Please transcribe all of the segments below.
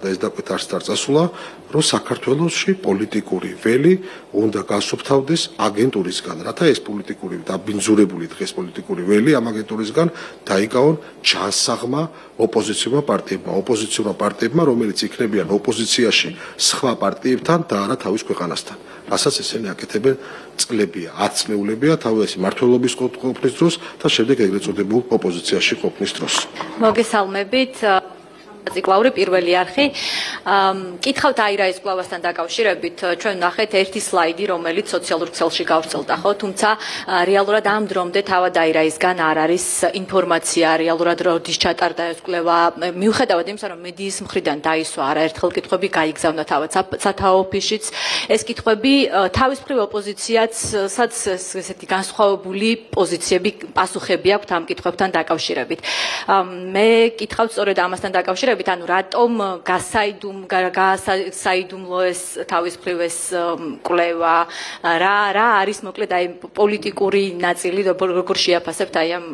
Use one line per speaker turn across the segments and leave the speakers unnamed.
ეს დაკვეთ არ წასულა, რომ საქართველოში პოლიტიკური ველი უნდა გასუფთავდეს აგენტურისგან, რათა ეს პოლიტიკური დაბინძურებული დღეს პოლიტიკური ველი ამ აგენტურისგან დაიკავონ ჯანსაღმა ოპოზიციურმა პარტიებმა, რომელიც იქნებიან ოპოზიციაში სხვა პარტიებთან და არა თავის ქვეყანასთან. რასაც ესენი აკეთებენ წლებია, 10 წლეულებია თავისი მმართველობის ყოფნის დროს და შემდეგ ეგრეთ წოდებულ ოპოზიციაში ყოფნის დროს.
მოგესალმებით. ციკლაური პირველი არხი. კითხავთ აირაის კვლევასთან დაკავშირებით, ჩვენ ნახეთ ერთი სლაიდი, რომელიც სოციალურ ქსელში გავრცელდა, ხო? თუმცა რეალურად ამ დრომდე თავად აირაისგან არ არის ინფორმაცია, რეალურად როდის ჩატარდა ეს კვლევა. მიუხედავად იმისა, რომ მედიის მხრიდან დაისვა არაერთხელ კითხვები გაიგზავნა თავად სათაო ოფისშიც, ეს კითხვები თავის მხრივ ოპოზიციაც ესეთი განსხვავებული პოზიციები, პასუხები აქვს ამ კითხვებთან დაკავშირებით. მე კითხავთ სწორედ ამასთან დაკავშირებით, ანუ რატომ გასაიდუმლო ეს თავის მხრივ ეს კვლევა, რა არის მოკლედ აი პოლიტიკური ნაწილი, როგორ შეაფასებთ აი ამ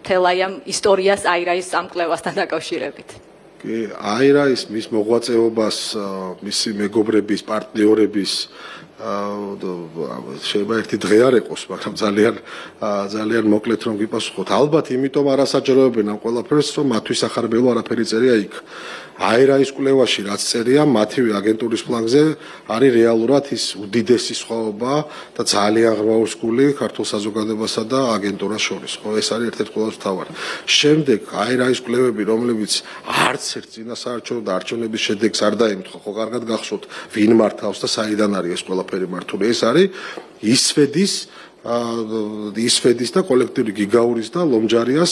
თელაი ამ ისტორიას აირაის ამ კვლევასთან დაკავშირებით?
აირაის მის მოღვაწეობას, მისი მეგობრების, პარტნიორების შეიძლება ერთი დღე არ ეყოს, მაგრამ ძალიან მოკლედ რომ გიპასუხოთ. ალბათ იმიტომ არასაჯაროებენ ამ ყველაფერს, რომ მათთვის ახარბელო არაფერი წერია იქ. აირაის კვლევაში რაც წერია, მათივე აგენტურის ფლანგზე არის რეალურად ის უდიდესი სხვაობა და ძალიან ღრმაურსკული ქართულ საზოგადოებასა და აგენტურას შორის. ხო, ეს არის ერთ-ერთი ყველაზე მთავარი. შემდეგ აირაის კვლევები, რომლებიც არც ერთ წინასაარჩევნო და არჩევნების შედეგს არ დაემთხვა, ხო, კარგად გახსოვთ, ვინ მართავს და საიდან არის ეს ყველაფერი მართული. ეს არის ისვედის და კოლექტიური გიგაურის და ლომჯარიას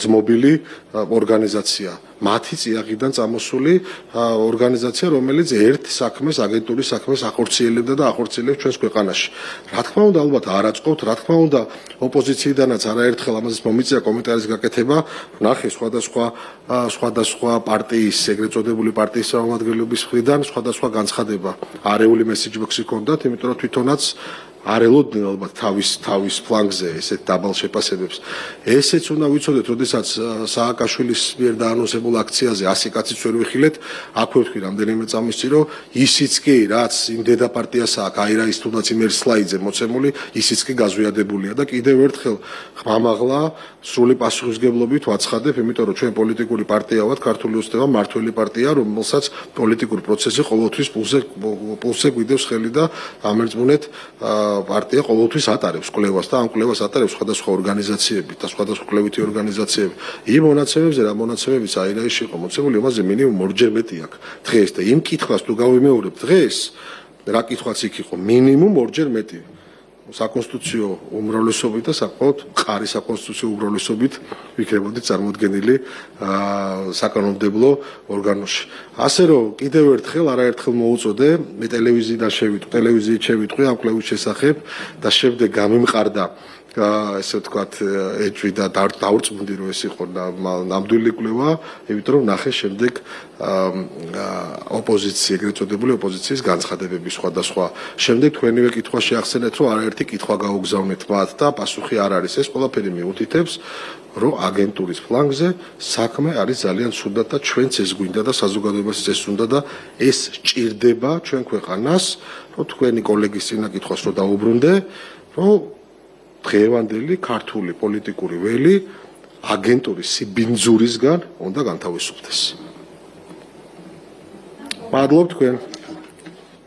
ძმობილი ორგანიზაცია. მათი წიაღიდან წამოსული ორგანიზაცია, რომელიც ერთ საქმეს, აგენტურის საქმეს ახორციელებდა და ახორციელებს ჩვენს ქვეყანაში. რა თქმა უნდა, ალბათ არ აწყობთ, რა თქმა უნდა, ოპოზიციიდანაც არაერთხელ ამაზე მომიწია კომენტარის გაკეთება, ნახე სხვადასხვა პარტიის, ეგრეთ წოდებული პარტიის წარმომადგენლების მხრიდან სხვადასხვა განცხადება. არეული მესიჯბოქსი ჰქონდათ, იმიტომ რომ თვითონაც არ ელოდნენ ალბათ თავის ფლანგზე ესეთ დაბალ შეფასებებს. ესეც უნდა ვიცოდეთ, როდესაც სააკაშვილის მიერ დაანონსებულ აქციაზე 100 კაციც ვერ ვიხილეთ, აქვე ვთქვი რამდენიმე წამის წინ, რომ ისიც კი, რაც იმ დედაპარტიას აქვს აირაის თუნდაც იმ ერთ სლაიდზე მოცემული, ისიც კი გაზვიადებულია და კიდევ ერთხელ ხმამაღლა სრული პასუხისმგებლობით ვაცხადებ, იმიტომ რომ ჩვენ პოლიტიკური პარტია ვართ, ქართული ოცნება მმართველი პარტია, რომელსაც პოლიტიკური პროცესი ყოველთვის პულსზე გვიდევს ხელი და ამერწმუნეთ პარტია ყოველთვის ატარებს კვლევას და ამ კვლევას ატარებს სხვადასხვა ორგანიზაციები და სხვადასხვა კვლევითი ორგანიზაციები. იმ მონაცემებზე რა მონაცემებიც აირაისში იყო მოცემული, ამაზე მინიმუმ ორჯერ მეტი აქვს დღეს და იმ კითხვას თუ გავიმეორებ დღეს, რა კითხვაც იქ იყო, მინიმუმ ორჯერ მეტი. საკონსტიტუციო უმრავლესობით და საკმაოდ მყარი საკონსტიტუციო უმრავლესობით ვიქნებოდი წარმოდგენილი საკანონმდებლო ორგანოში. ასე რომ კიდევ ერთხელ არაერთხელ მოუწოდე, მე ტელევიზიით შევიტყვი ამ კვლევის შესახებ და შემდეგ გამიმყარდა ესე ვთქვათ ეჭვი და დაურწმუნდი რომ ეს იყო ნამდვილი კვლევა, იმიტომ რომ ნახე შემდეგ ოპოზიცია, ეგრეთ წოდებული ოპოზიციის განცხადებები სხვადასხვა. შემდეგ თქვენივე კითხვა შეახსენეთ, რომ არაერთი კითხვა გაუგზავნეთ მათ და პასუხი არ არის. ეს ყველაფერი მიუთითებს, რომ აგენტურის ფლანგზე საქმე არის ძალიან ცუდად და ჩვენც ეს გვინდა და საზოგადოებასაც ეს უნდა და ეს სჭირდება ჩვენ ქვეყანას, რომ თქვენი კოლეგის წინა კითხვას რომ დაუბრუნდე, რომ დღევანდელი ქართული პოლიტიკური ველი აგენტურის სიბინძურისგან უნდა განთავისუფლდეს. მადლობ თქვენ.